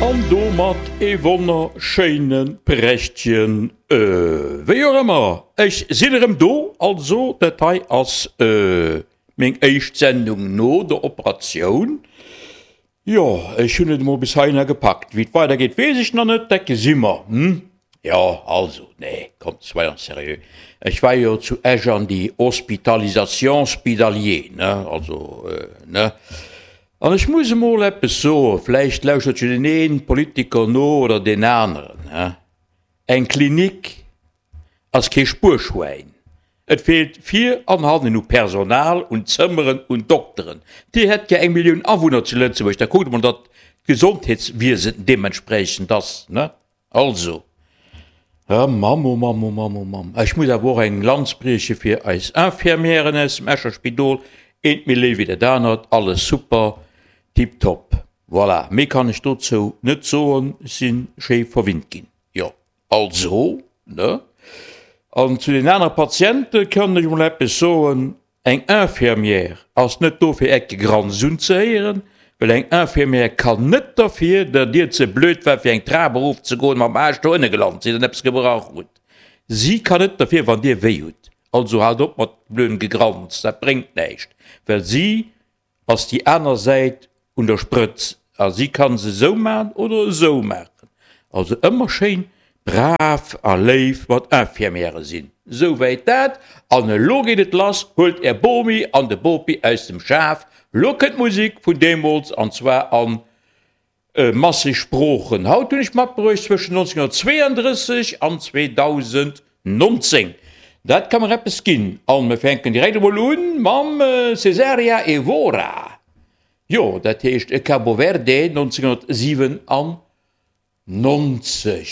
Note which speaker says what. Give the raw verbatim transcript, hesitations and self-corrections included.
Speaker 1: An domat ee wonnerschéine prächtegen, wéi och ëmmer, ech sinn erëm do. Also dat hei ass meng éischt Sendung no der Operatioun. Jo, ech hunn et emol bis heihinner gepackt. Wéi et weidergeet, weess ech nach net, dat gesi mer, hm? Jo, also, nee, kommt, soyons sérieux, ech war jo zu Esch an déi Hospitalisation spidalier, ne, also, ne? An ech muss emol eppes soen, vläicht lauschtert jo deen ee Politiker no oder deen aneren, ne? Eng Klinik ass kee Spuerschwäin. Et feelt vir an hannen u Personal, un Zëmmeren, un Dokteren. Dir hätt gär eng Millioun Awunner zu Lëtzebuerg, da kuckt emol, datt d'Gesondheetswiesen deementspreechend ass, ne? Also, oh Mamm, oh Mamm, oh Mamm, oh Mamm. Ech muss awer och eng Lanz brieche fir eis Infirmièren aus dem Escher Spidol, eent méi léif wéi dat anert, alles super, tiptop. Voilà, méi kann ech dozou net soen, ech si schéi verwinnt ginn, jo. Also, ne? An zu den anere Patiente kann ech emol eppes soen, Eng Infirmière ass net do fir Äert Gegranz unzehéieren, well eng Infirmière kann net derfir, datt Dir ze blöd waart fir eng Trap erofzegoen, mam Aarsch doënne gelant sidd an eppes gebrach hutt. Si kann net derfir wann Dir wéi hutt. Also haalt op mat blödem Gegranz, dat bréngt näischt, well si ass déi aner Säit un der Sprëtz a si kann se esou maachen oder esou maachen. Also ëmmer schéin brav a léif mat Infirmièrë sinn. Souwäit dat. An elo geet et lass, huelt är Bomi an de Bopi aus dem Schaf, lo kënnt d'Musek vun deemools an zwar a masseg Sproochen. Haut hunn ech matbruecht zwëschen nonzénghunnertzweeandrësseg an zweedausendnonzéng. Dat ka mer eppes ginn. An mir fänken direkt emol un mam Cesaria Evora. Jo, dat heescht Cabo Verde nonzénghunnertsiwenannonzeg.